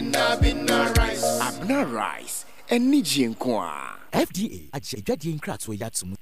Abena Rice, anigyeɛ nko ara. FDA agye adwadie nkratoɔ yi ato mu.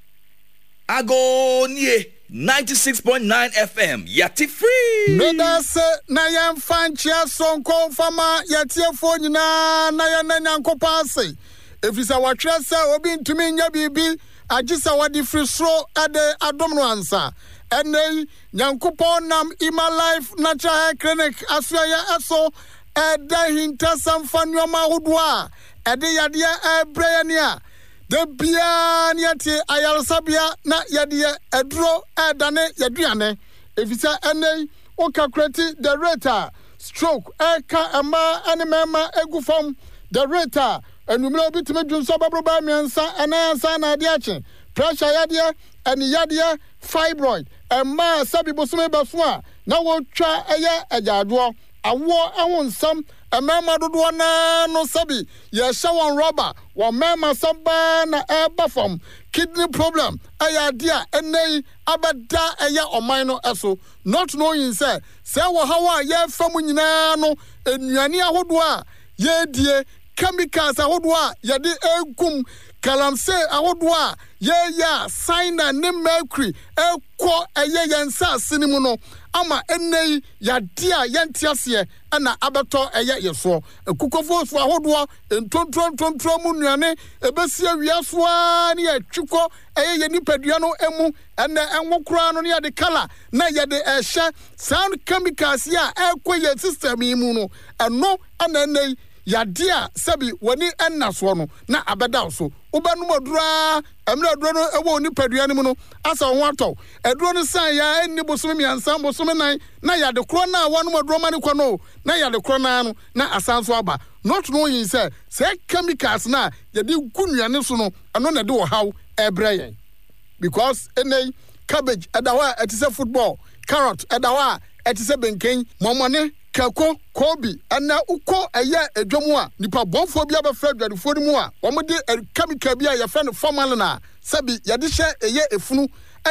Agoo nie, 96.9 FM, yɛate free! Medase na yɛmfa nkyea soronko mfa ma yɛatiefoɔ nyinaa na yɛnna Nyankopɔn ase, efisɛ wɔatwerɛ sɛ obi ntumi nyɛ biribi agye sɛ wɔde firi soro de adom no ansa. Ɛnnɛ yi, Nyankopɔn nam Emma Life Natural Hair Clinic asoɛeɛ so reda ahintasɛm fa nnoɔma ahodoɔ a ɛde yadeɛ rebrɛ yɛn a da biara ne yɛte ayaresabea na yɛde yɛ aduro redane yɛaduane. Efisɛ ɛnnɛ yi wo calculate the rate a stroke reka mmaa ne mmarima gu fam, the rate a anwummerɛ obi tumi dwonsɔ bɛboro bɛyɛ mmiɛnsa ɛnan ansa na adeɛ akye, pressure yadeɛ, ani yadeɛ, fibroid, mmaa a sɛbi bosome bɛso a na wɔtwa yɛ agyaadwoɔ, awoɔ ho nsɛm, mmarima dodoɔ no ara no sɛbi yɛhyɛ wɔn rɔba, wɔn mmarima sɛm paa na ɛreba fam, kidney problem yɛ adeɛ a ɛnnɛ yi abɛda ɛyɛ ɔman no so, not knowing sɛ sɛɛ ɔhaw a yɛrefa mu nyinaa no nnuane ahodoɔ a yɛredie, chemicals ahodoɔ a yɛde regu mu, galamsey ahodoɔ a yɛreyɛ a cyanide ne mercury rekɔ ɛyɛ yɛn nsaase no mu no ama ɛnnɛ yi yadeɛ a yɛnte aseɛ na abɛtɔ ɛyɛ yɛ soɔ. Akukɔfoɔ su ahodoɔ, ntonturo ntonturo mu nnuane ɛbɛsi awia so ara ne yɛtwe kɔ ɛyɛ yɛn nipadua no mu. Ɛnnɛ ɛnwo koraa no ne yɛde colour na yɛde ɛhyɛ saa chemicals yi a ɛrekɔ yɛn system yi mu no, ɛno na ɛnnɛ yi yadeɛ a sɛbi w'ani nna soɔ no na abɛda wo so. Wobɛnom aduro ara, mmerɛ aduro no wɔ wo nipadua no mu no, asɛ wo ho atɔ wo. Aduro no san yɛ a ɛnni bosome mmiɛnsa, bosome nan, na yade korɔ no a woanom aduro ma no kɔ no o, na yade korɔ no ara no na asan nso aba. Not knowing sɛ saa chemicals no a yɛde gu nnuane so no, ɛno na ɛde ɔhaw rebrɛ yɛn. Because ɛnnɛ yi, cabbage ɛda hɔ a ɛte sɛ football, carrot ɛda hɔ a ɛte sɛ benken, mɔmɔne, Kako, Kobe, ɛnɛ wokɔ ɛyɛ edwa mu a, nipa bɔnfoɔ bi abɛfra adwadifoɔ no mu a wɔde chemical bi a yɛfrɛ no formalin a sɛbi yɛde hyɛ ɛyɛ efunu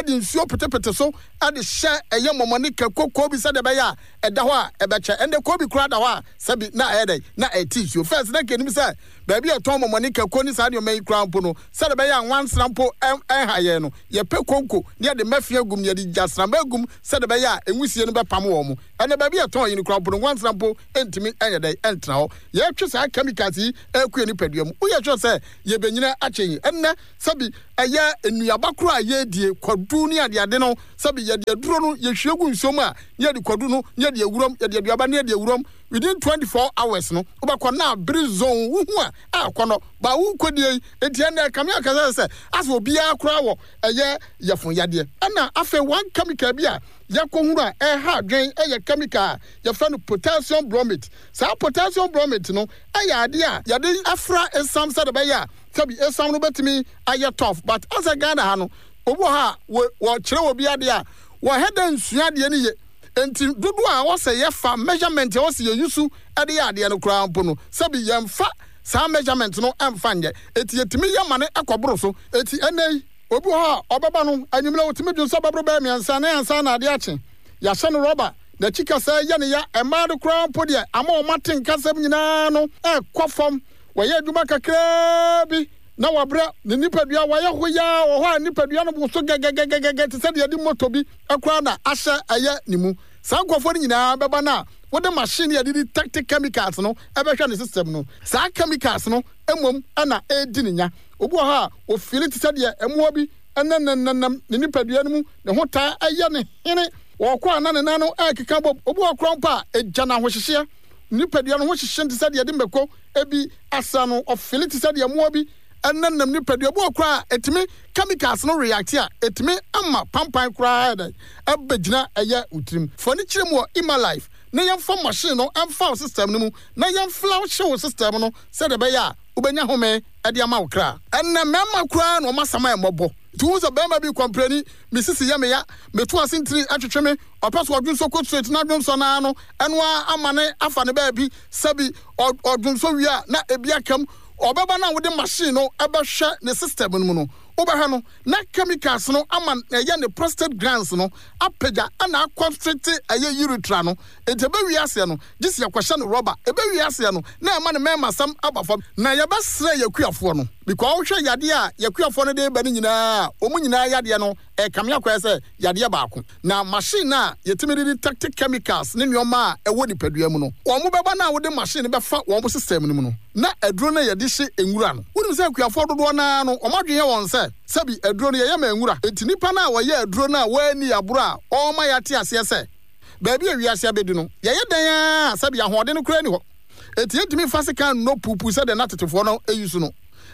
de nsuo petepete so de hyɛ ɛyɛ mɔmɔne kako, Kobe sɛdeɛ ɛbɛyɛ a ɛda hɔ a ɛbɛkyɛ. Ɛnɛ Kobe koraa da hɔ a sɛbi na ɛyɛ dɛn na ɛte nsuo. First na nka yɛnim sɛ baabi a yɛtɔn mɔmɔne kako ne saa nneɛma yi koraa mpo no sɛdeɛ ɛbɛyɛ a nwansena mpo ɛnha yɛn no yɛpɛ konko na yɛde mɛfea gum na yɛde gyasramma agum sɛdeɛ ɛbɛyɛ a nwusie no bɛpam wɔn. Ɛnɛ baabi a yɛtɔn yi no koraa mpo no, nwansena mpo ntumi nyɛ dɛn ntena hɔ. Yɛtwe saa chemicals yi kɔ yɛn nipadua mu. Woyɛ sure sɛ yɛbɛnyini akyɛ yi? Ɛnnɛ sɛbi ɛyɛ nnuaba koraa a yɛredie, kwadu ne adeade no, sɛbi yɛde aduro no yɛhwie gu nsuo mu a, na yɛde kwadu no na yɛde awuram, yɛde aduaba no na yɛde awuram. Within 24 hours no, wobɛkɔ na abere zone, wohu a, akɔnnɔ. Ba worekɔdie yi, enti ɛnnɛ ɛkame akasa sɛ asɛ obiara koraa wɔ ɛyɛ yafunu yadeɛ. Ɛna afei one chemical bi a yɛakɔhunu a ɛha adwene yɛ chemical a yɛfrɛ no potassium bromate. Saa potassium bromate no yɛ adeɛ a yɛde fra esiam sɛdeɛ ɛbɛyɛ a sɛbi esiam no bɛtumi ayɛ tough but asɛ Ghana ha no obi wɔ hɔ a wɔkyerɛ obi adeɛ a wɔhɛ dɛ nsua adeɛ no ye nti dodoɔ a ɛwɔ sɛ yɛfa measurement a ɛwɔ sɛ yɛ use de yɛ adeɛ no koraa mpo no sɛbi yɛmfa saa measurement no mfa nyɛ enti yɛtumi yɛ ma no kɔboro so enti ɛnnɛ yi Obi wɔ hɔ a, ɔbɛba no, anwummerɛ ɔtumi dwonsɔ bɛboro bɛyɛ mmiɛnsa ne ansa na adeɛ akye. Yɛahyɛ no rɔba, n'akyi kasɛɛ yɛ no ya, mmaa no koraa mpo deɛ, ama wɔn atenkasɛm nyinaa no rekɔ fam. Wɔyɛ adwuma kakraa bi na wɔabrɛ, ne nipadua, wayɛ hoyaa, wɔ hɔ a nipadua no woso gɛgɛgɛgɛgɛ te sɛ deɛ yɛde moto bi koraa na ahyɛ ɛyɛ ne mu. Saa nkurɔfoɔ no nyinaa bɛba no a, wode machine a yɛde detect chemicals no bɛhwɛ ne system no. Saa chemicals no mmom na ɛredi ne nya. Obi wɔ hɔ a, ofeeli te sɛ deɛ mmoa bi nenam ne nipadua no mu, ne ho taa yɛ no hene. Ɔkɔ a na ne nan no rekeka bom. Obi wɔ hɔ koraa mpo a, egya no ahohyehyeɛ. Ne nipadua no ho hyehye no te sɛ deɛ yɛde mako bi asra no. Ɔfeeli te sɛ deɛ mmoa bi nenam ne nipadua. Obi wɔ hɔ koraa a, etumi chemicals no react a, etumi ma pampan koraa yɛ dɛn? Ɛbɛgyina ɛyɛ wo tirim. Fa ani kyerɛ mu wɔ Emalife na yɛmfa machine no mfa wo system no mu na yɛmflauhye wo system no sɛdeɛ ɛbɛyɛ a wobɛnya home de ama wo kra. Ɛnnɛ mmarima koraa na wɔn asɛm ayɛ mmɔbɔ. Nti wohu sɛ barima bi kɔmpleni, me sisi yɛ me ya, meto ase ntini twetwe me, ɔpɛ sɛ ɔdwonsɔ kɔ straight na dwonsɔ no ara no, ɛno ara ama no afa ne baabi, sɛbi ɔdwonsɔ wie a na ebi aka mu. Ɔbɛba no a wode machine no bɛhwɛ ne system no mu no, Wobɛhwɛ no, na chemicals no ama ɛyɛ ne prostate glands no apagya na akɔnstricte ɛyɛ urethra no. Enti ɛbɛwie aseɛ no, gye sɛ yɛkɔhyɛ no rɔba. Ɛbɛwie aseɛ no, na ɛma ne mɛɛmasɛm aba fam. Na yɛbɛsrɛ yɛn akuafoɔ no, because wohwɛ yadeɛ a yɛn akuafoɔ no de reba no nyinaa a, wɔn nyinaa yadeɛ no ɛrekame akɔyɛ sɛ yadeɛ baako. Na machine a yɛtumi de detect chemicals ne nneɛma a ɛwɔ nipadua mu no, wɔn bɛba no a wode machine no bɛfa wɔn system no mu no, na aduro no a yɛde hye nwura no. Wonim sɛ akuafoɔ dodoɔ no ara no, wɔn adwene yɛ wɔn sɛ, sɛbi aduro no yɛyɛ ma nwura. Enti nipa no a ɔyɛ aduro no a wanni aboro a ɔrema yɛate aseɛ sɛ baabi a wiase abɛdu no, yɛyɛ dɛn ara a sɛbi ahoɔden no koraa nni hɔ. Enti yɛntumi mfa sekan nnɔ puupuu sɛdeɛ na tetefoɔ no use no.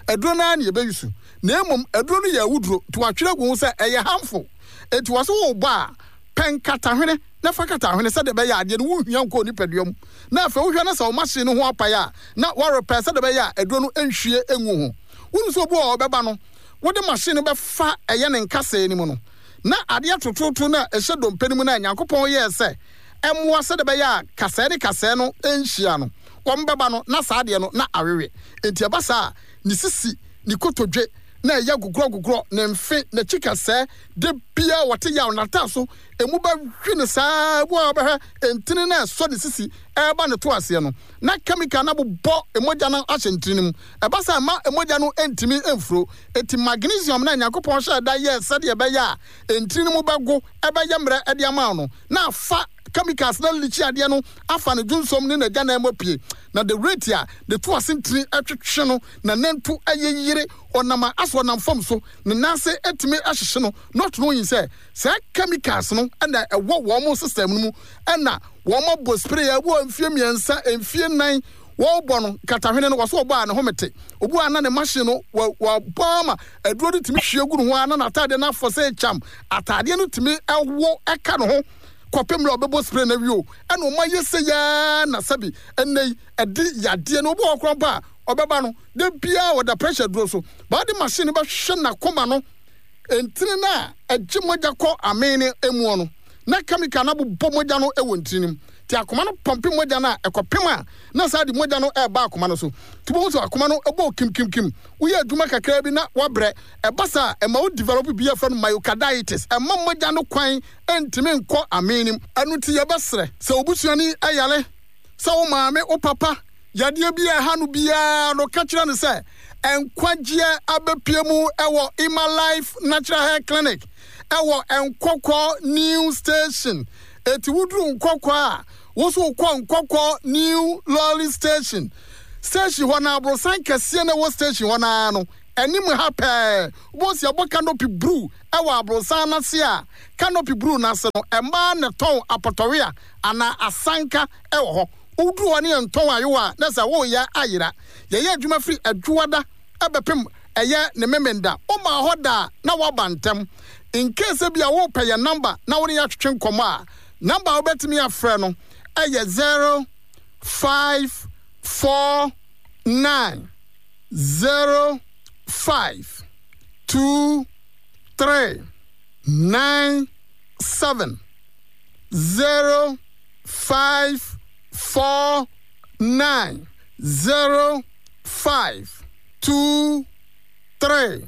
Aduro no ara na yɛbɛuse. Na mmom aduro no yɛ awuduro, nti wɔatwerɛ agu ho sɛ ɛyɛ harmful. Enti wɔse worebɔ a, pɛ nkatahwene na fa kata hwene sɛdeɛ ɛbɛyɛ a adeɛ no wonhwia nkɔ onipadua mu. Na afei wohwɛ na sɛ wo machine no ho apae a, na woarepɛ sɛdeɛ ɛbɛyɛ a aduro no nhwie ngu ho. Wonim sɛ obi wɔ hɔ a ɔbɛba no, wode machine no bɛfa ɛyɛ ne nkasɛɛ no mu no, na adeɛ tototo no a ɛhyɛ dompe no mu no a Nyankopɔn yɛɛ sɛ ɛmmoa sɛdeɛ ɛbɛyɛ a kasɛɛ ne kasɛɛ no nhyia no, wɔbɛba no na saa adeɛ no na awewe. Enti ɛba saa a, ne sisi, ne kotodwe na ɛyɛ gogorɔgogorɔ, ne mfe, n'akyi kasɛɛ, da biara ɔte yaw, n'ataaso, emu bɛhwe no saa ara, ebi wɔ hɔ a wobɛhwɛ ntini no a ɛsɔ ne sisi reba ne to aseɛ no, na kɛmikal no abobɔ mogya no ahyɛ ntini no mu. Ɛba saa a, ɛmma mogya no ntumi mfuro. Enti magnesium no a Nyankopɔn hyɛɛ da yɛɛ sɛdeɛ ɛbɛyɛ a ntini no mu bɛgo, ɛbɛyɛ mmerɛ de ama wo no, na afa chemicals no alikyi adeɛ no afa ne dwonsɔm ne n'agyanan mu apue. Na the rate a ne to ase ntini twetwe no, n'anantu yeyere, ɔnam a asɛ ɔnam fam so, ne nan ase tumi hyehye no, not knowing sɛ Saa chemicals no na ɛwɔ wɔn system no mu na wɔn abɔ spray a ɛwɔ mfie mmiɛnsa, mfie nnan wɔbɔ no katahwene no wɔso ɔbɔ a ne home te. Obu a na ne machine no wɔabɔ ama aduro no tumi hwie gu ne ho a na n'ataadeɛ no afɔ sɛ kyam. Ataadeɛ no tumi ɛwo ɛka ne ho kɔpem mmerɛ a ɔbɛbɔ spray no awie o. Ɛna wɔn ayɛ sɛ yaa na sɛbi ɛnɛ yi ɛde yadeɛ no obi wɔ hɔ koraa mpo a ɔbɛba no da biara ɔda pressure duro so. Baade machine no bɛhwɛ n'akoma no Ntini no a ɛgye mogya kɔ amee no muɔ no, na kɛmikal no abobɔ mogya no wɔ ntini no mu. Nti akoma no pɔmpe mogya no a, ɛkɔpem a, na saa de mogya no reba akoma no so. Nti wobɛhu sɛ akoma no bɔ kimkimkim. Woyɛ adwuma kakraa bi na woabrɛ. Ɛba saa a, ɛma wo develop biribi a yɛfrɛ no myocarditis. Ɛmma mogya no kwan ntumi nkɔ amee no mu. Ɛno nti yɛbɛsrɛ, sɛ wo busuani yare, sɛ wo maame, wo papa, yadeɛ bi a ɛha no biara no, ka kyerɛ no sɛ nkwagyeɛ abɛpue mu wɔ Emma Life Natural Hair Clinic wɔ Nkɔkɔ New Station. Eti woduru Nkɔkɔ a, wo nso wokɔ Nkɔkɔ New Lorry Station. Station hɔ no, aborosan kɛseɛ na ɛwɔ station hɔ no ara no, anim ha pɛɛ, wobɛhu sɛ yɛabɔ canopy bruu wɔ aborosan no ase a, canopy bruu no ase no, mmaa na ɛtɔn apɔtɔwea anaa asanka wɔ hɔ. Woduru hɔ ne yɛntɔn ayowa a, na sɛ woreyɛ ayera. Yɛyɛ adwuma firi Adwoada bɛpem ɛyɛ ne Memenda. Womaa hɔ da a, na woaba ntɛm. In case ebia worepɛ yɛn number na wo ne yɛn atwetwe nkɔmmɔ a, number a wobɛtumi afrɛ no yɛ 0549 05 2 3 9 7. 0 5 4 9 0 5 2 3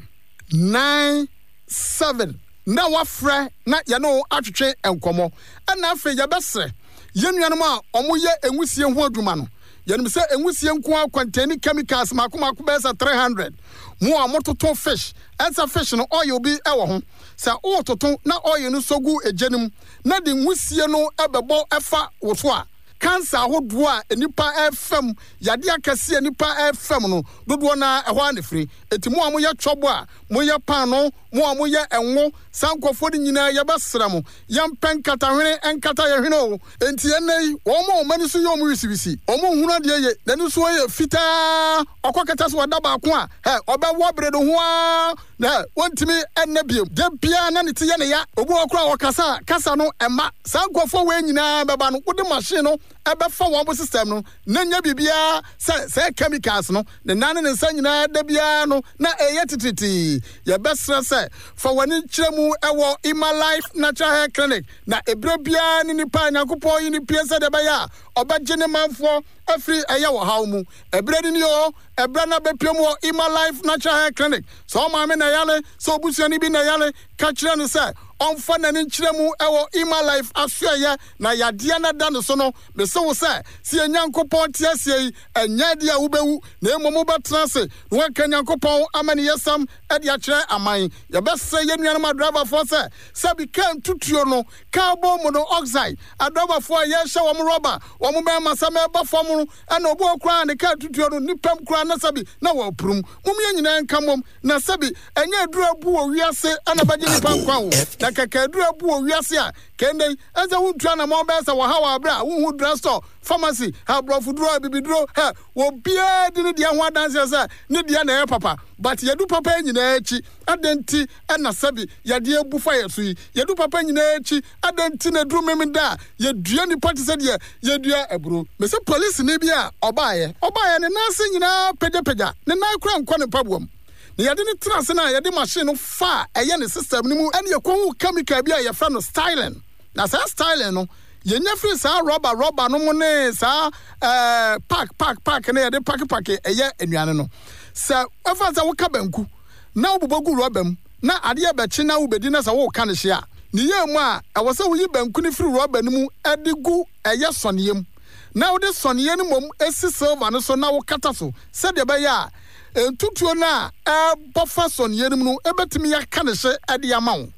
9 7 na woafrɛ na yɛne wo atwetwe nkɔmmɔ. Ɛna afei yɛbɛsrɛ yɛn nuanom a wɔyɛ nwusie ho adwuma no. Yɛnim sɛ nwusie nko ara contain chemicals mako mako bɛyɛ sɛ 300. Mo a mototo fish, ɛnsɛ fish no oil bi wɔ ho. Sɛ woretoto na oil no sɔ gu egya no mu na de nwusie no bɛbɔ fa wo so a, cancer ahodoɔ a nnipa refa mu, yadeɛ akɛseɛ a nnipa refa mu no, dodoɔ no ara ɛhɔ ara na ɛfiri. Enti mo a moyɛ twɔbo a moyɛ paanoo, mo a moyɛ ngo, saa nkurɔfoɔ no nyinaa yɛbɛsrɛ mo, yɛmpɛ nkatahwene nkata yɛn hwene o. Enti ɛnnɛ yi, wɔn a wɔn ani so yɛ wɔn wisiwisi, wɔn nhunu adeɛ ye, n'ani so yɛ fitaa, ɔkɔ kɛtɛ so ɔda baako a, hɛ, ɔbɛwɔ bere no ho ara, na hɛ, wɔntumi nna bio. Da biara na ne ti yɛ ne ya. Obi wɔ hɔ koraa a ɔkasa a, kasa no mma. Saa nkurɔfoɔ wei nyinaa bɛba no, wode machine no. ɛbɛfa wɔn system no na nyɛ biribiara sɛ sɛɛ chemicals no, ne nan ne ne nsa nyinaa da biara no na ɛyɛ titiritii. Yɛbɛsrɛ sɛ fa w'ani kyerɛ mu wɔ Emma Life Natural Hair Clinic na ɛberɛ biara ne nipa a Nyankopɔn yi no pue sɛdeɛ ɛbɛyɛ a ɔbɛgye ne manfoɔ afiri ɛyɛ ɔhaw mu. Ɛberɛ no nie o, ɛberɛ no abɛpue mu wɔ Emma Life Natural Hair Clinic. Sɛ wo maame na ɛyare, sɛ obusuani bi na ɛyare, ka kyerɛ no sɛ ɔmfa n'ani nkyerɛ mu wɔ Emma Life asoɛeɛ na yadeɛ no ada ne so no. Mese wo sɛ, sɛ yɛn Nyankopɔn te aseɛ yi, ɛnyɛ adeɛ a wobɛwu, na mmom wobɛtena ase na woaka Nyankopɔn amaniyɛsɛm de akyerɛ aman. Yɛbɛsrɛ yɛn nuanom adriverfoɔ sɛ, sɛbi kaa ntutuo no, carbon monoxide, adriverfoɔ a yɛrehyɛ wɔn rɔba, wɔn mmarima sɛ mɛba fam no, ɛna obi wɔ koraa a ne kaa tutuo no, nnipa mu koraa na sɛbi na wɔapurum. Mom yɛn nyinaa nka mmom, na sɛbi ɛnyɛ aduro abu wɔ wiase na ɛbɛgye nnipa nkwa o, na kɛkɛ aduro abu wɔ wiase a, Kɛndɛ yi, ɛnsɛ wontu anamɔn bɛyɛ sɛ wɔhaw a bere a wonhu drugstore, pharmacy, ha aborɔfo-duro, abibiduro, hɛ, obiara di ne deɛ ho adanseɛ sɛ ne deɛ na ɛyɛ papa. But yɛdu papa yi nyinaa akyi, adɛn nti na sɛbi yadeɛ abu fa yɛn so yi? Yɛdu papa nyinaa akyi, adɛn nti na ɛduru Memenda a yɛdua nnipa te sɛ deɛ yɛdua aburo? Mese polisini bi a ɔbaeɛ, ɔbaeɛ ne nan ase nyinaa pagyapagya, ne nan koraa nkɔ ne mpaboa mu. Na yɛde no tena ase na yɛde machine no fa a ɛyɛ ne system no mu ɛna yɛkɔhu chemical bi a yɛfrɛ no styling. Na saa styling no yɛnya firi saa rɔba rɔba no mu ne saa ɛɛ pack pack pack no yɛde pake pake ɛyɛ nnuane no. Sɛ ɛfa sɛ woka banku na wobobɔ gu rɔba mu na adeɛ bɛkye na wobɛdi na sɛ woka no hye a, ne yɛ mu a ɛwɔ sɛ woyi banku no firi rɔba no mu de gu ɛyɛ sɔneɛ mu na wode sɔneɛ no mmom si silver no so na wokata so sɛdeɛ ɛbɛyɛ a ntutuo no a ɛrebɔ fa sɔneɛ no mu no bɛtumi aka ne hye de ama wo.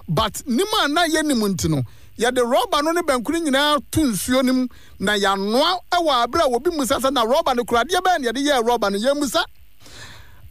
But nim a na yɛnnim nti no, yɛde rɔba no ne banku no nyinaa to nsuo no mu na yɛanoa wɔ aberɛ a obi mmisa sɛ na rɔba no kura adeɛ bɛn na yɛde yɛɛ rɔba no, yɛmmisa.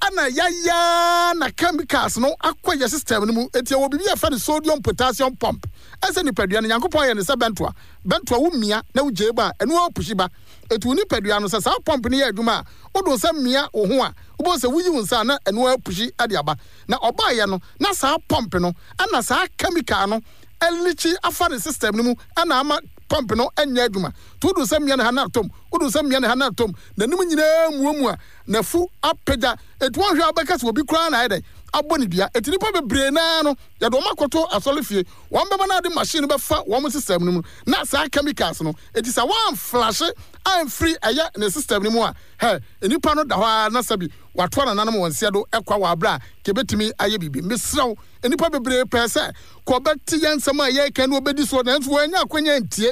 Ɛna yɛayɛ ara na chemicals no akɔ yɛ system no mu. Enti yɛwɔ biribi a yɛfrɛ no sodium potassium pump. Ɛsɛ nipadua no, Nyankopɔn ayɛ no sɛ bɛntoa. Bɛntoa womia na wogyae mu a, ɛno ara pushi ba. Enti wo nipadua no, sɛ saa pump no yɛ adwuma a, wode wo nsa mia wo ho a, wobɛhu sɛ woyi wo nsa a na ɛno ara pushi de aba. Na ɔbaeɛ no, na saa pump no na saa chemical no alikyi afa ne system no mu na ama pump no nyɛ adwuma. Nti wode wo nsa mia ne ha na atom, wode wo nsa mia ne ha na atom, n'anim nyinaa muamua, n'afu apagya. Enti woanhwɛ a wobɛka sɛ obi koraa na ayɛ dɛn abɔ ne dua. Enti nnipa bebree no ara no, yɛde wɔn akɔto asɔrefie, wɔn bɛba na ade machine no bɛfa wɔn system no mu na saa chemicals no. Enti sɛ wɔamflashe amfiri ɛyɛ ne system no mu a, hɛ, nnipa no da hɔ ara na sɛbi wɔatoa nananom wɔn nseɛ do kwa wɔ aberɛ a kɛbɛtumi ayɛ biribi. Mesrɛ wo, nnipa bebree pɛɛ sɛ kɔbɛte yɛn nsɛm a yɛreka ne wɔbɛdi soɔ, nanso wɔannya akwanya antie.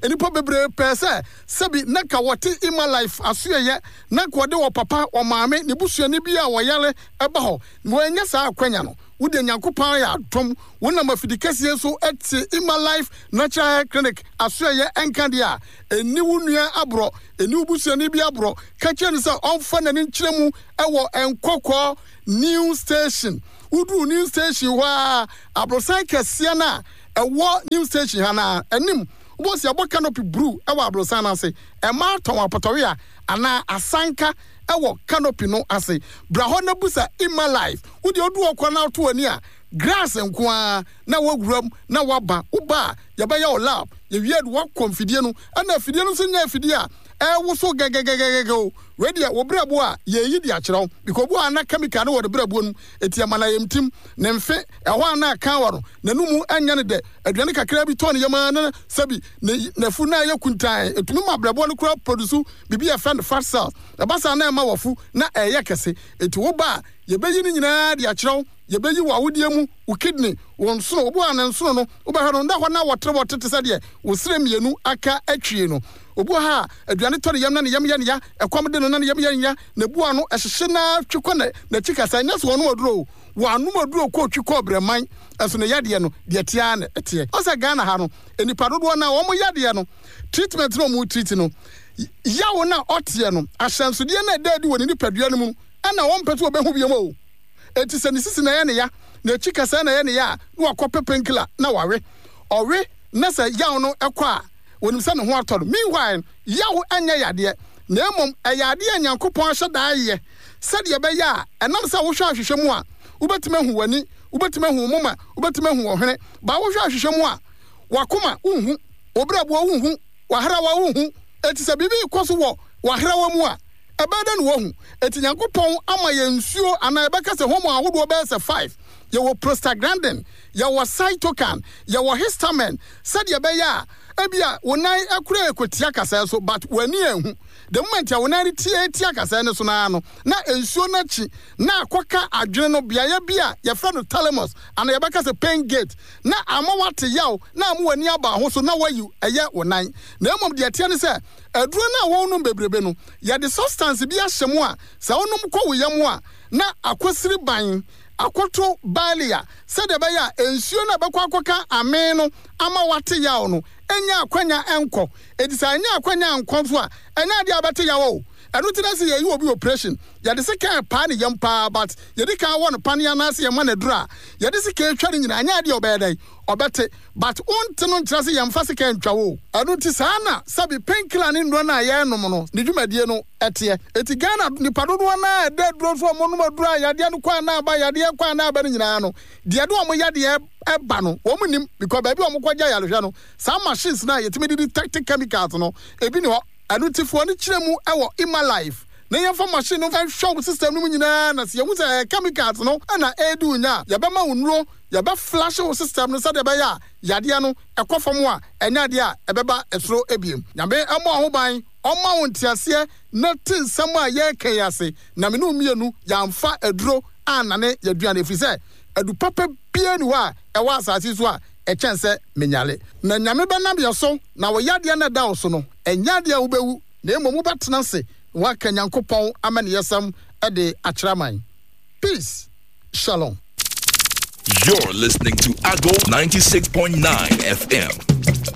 Nnipa bebree pɛɛ sɛ sɛbi na nka wɔte Emma Life asoɛeɛ, na nka wɔde wɔ papa, wɔ maame, ne busuani bi a wɔyare ba hɔ. Wɔannya saa akwanya no. Wo deɛ Nyankopɔn ayɛ adom, wonam afidikɛseɛ so te Emma Life Natural Hair Clinic asoɛeɛ nka deɛ a, ɛnni wo nua aborɔ, ɛnni wo busuani bi aborɔ. Ka kyerɛ no sɛ ɔmfa n'ani nkyerɛ mu wɔ Nkɔkɔɔ New Station. Woduru New Station hɔ ara, aborosan kɛseɛ no a ɛwɔ New Station ha no ara anim, wobɛhu sɛ yɛabɔ canopy bruu wɔ aborosan no ase. Mmaa tɔn apɔtɔwea anaa asanka wɔ canopy no ase. Bra hɔ na busa Emma Life. Wo deɛ wodu hɔ koraa na woto w'ani a, grass nko ara na woawura mu na woaba. Woba a, yɛbɛyɛ wo lab. Yɛwie a, de woakɔ mfidie no. Ɛna afidie no nso nyɛ afidie a ɛrewoso gɛgɛgɛgɛgɛ o. Wei deɛ, wo berɛboɔ a, yɛreyi de akyerɛ wo. Because obi wɔ hɔ a na chemical no wɔ ne berɛboɔ no mu, enti ɛma no ayamtim, ne mfe, ɛhɔ a na aka wɔ no, n'anomu nyɛ no dɛ, aduane kakraa bi tɔ ne yam ara na sɛbi ne n'afu no ayɛ kuntann. Ɛtumi ma berɛboɔ no koraa produce biribi a yɛfrɛ no fat cells. Ɛba saa na ɛma w'afu na ɛreyɛ kɛse. Enti woba a, yɛbɛyi ne nyinaa de akyerɛ wo. Yɛbɛyi w'awodeɛ mu, wo kidney, wo nsono, obi wɔ hɔ a ne nsono no, wobɛhwɛ no, na hɔ na wɔterewɔtere te sɛ deɛ wo serɛ mmienu aka atwie no. Obi wɔ ha a, aduane tɔ ne yam na ne yam yɛ no ya, ɛkɔm de no na ne yam yɛ no ya, n'abu ano hyehye no ara twe kɔ n'akyi kasa, ɛnyɛ sɛ ɔnom aduro o, wanom aduro kɔ twi kɔ brɛman, nso ne yadeɛ no, deɛ ɛteɛ ara na ɛteɛ. Ɔsɛ sɛ Ghana ha no, nnipa dodoɔ no ara, wɔn yadeɛ no, treatment no a wɔn treat no, yaw no a ɔteɛ no, ahyɛnsodeɛ no a ɛda adi wɔ ne nipadua no mu no, ɛna wɔmpɛ sɛ wɔbɛhu biom o. Enti sɛ ne sisi na ɛyɛ ne ya, n'akyi kasɛɛ na ɛyɛ ne ya a, na wakɔpɛ painkiller na wawe. Ɔwe na sɛ yaw no kɔ a, onim sɛ ne ho atɔ no. Meanwhile, yaw nyɛ yadeɛ, na mmom ɛyɛ adeɛ a Nyankopɔn ahyɛ da ayɛ sɛdeɛ ɛbɛyɛ a ɛnam sɛ wohwɛ ahwehwɛ mu a, wobɛtumi ahu w'ani, wobɛtumi ahu wo moma, wobɛtumi ahu wo hwene. But wohwɛ ahwehwɛ mu a, w'akoma wonhu, wo berɛboɔ wonhu. W'ahrawa wonhu. Enti sɛ biribi rekɔ so wɔ w'ahrawa mu a, ɛbɛyɛ dɛn na woahu? Enti Nyankopɔn ama yɛn nsuo anaa yɛbɛka sɛ hormone ahodoɔ bɛyɛ sɛ five. Yɛwɔ prostaglandin, yɛwɔ cytokine, yɛwɔ histamine, sɛdeɛ ɛbɛyɛ a ebia wo nan koraa rekɔtia kasɛɛ so but w'ani anhu. The moment a wo nan retia tia kasɛɛ no so no ara no, na nsuo no akyi na akɔka adwene no beaeɛ bi a yɛfrɛ no thalamus anaa yɛbɛka sɛ pain gate na ama woate yaw na ama w'ani aba ho so na woayi ɛyɛ wo nan. Na mmom deɛ ɛteɛ ne sɛ, aduro no a wonom bebrebe no, yɛde substance bi ahyɛ mu a sɛ wonom kɔ wo yam a, na akɔsiri ban akɔto barley a sɛdeɛ ɛbɛyɛ a nsuo no a ɛbɛkɔ akɔka amee no ama woate yaw no nnya akwanya nkɔ. Enti sɛ annya akwanya ankɔ nso a, ɛnyɛ adeɛ a wobɛte yaw o. Ɛno nti na sɛ yɛyi obi operation, yɛde sekan paa ne yam paa but yɛdi kan wɔ no paneɛ anaasɛ yɛma no aduro a yɛde sekan twa no nyinaa, ɛnyɛ adeɛ a ɔbɛyɛ dɛn? Ɔbɛte. But wonte no nkyerɛ sɛ yɛmfa sekan ntwa wo o. Ɛno nti saa na sɛbe pain killer ne nnuro no a yɛnom no ne dwumadie no teɛ. Enti Ghana nnipa dodoɔ no ara a ɛda aduro so a wɔnom aduro a yadeɛ no kɔ a na aba, yadeɛ kɔ a na aba no nyinaa no, deɛ ɛde wɔn yadeɛ ba no wɔn nnim because baabi a wɔkɔgye ayarehwɛ no saa machines no a yɛtumi de detect chemicals no ebi ni hɔ. Ɛno nti fa w'ani kyerɛ mu wɔ Emma-Life na yɛmfa machine no nhwɛ wo system no mu nyinaa na sɛ yɛhu sɛ ɛyɛ chemicals no na ɛredi wo nya a, yɛbɛma wo nnuro, yɛbɛ flush wo system no sɛdeɛ ɛbɛyɛ a yadeɛ no ɛkɔ fam a ɛnyɛ adeɛ a ɛbɛba soro biom. Nyame mmɔ wo ho ban, ɔmma wo nteaseɛ na te nsɛm a yɛreka yi ase na me ne wo mmienu yɛamfa aduro annane yɛaduane ɛfiri sɛ adu papa biara nni hɔ a ɛwɔ asase yi so a ɛkyɛn sɛ menyare. Na Nyame bɛnam yɛ so, na wo yadeɛ no a ɛda wo so no, ɛnyɛ adeɛ a wobɛwu, na mmom wobɛtena ase na woaka Nyankopɔn amaniyɛsɛm de akyerɛ aman. Peace. Shalom. You're listening to Ago 96.9 FM.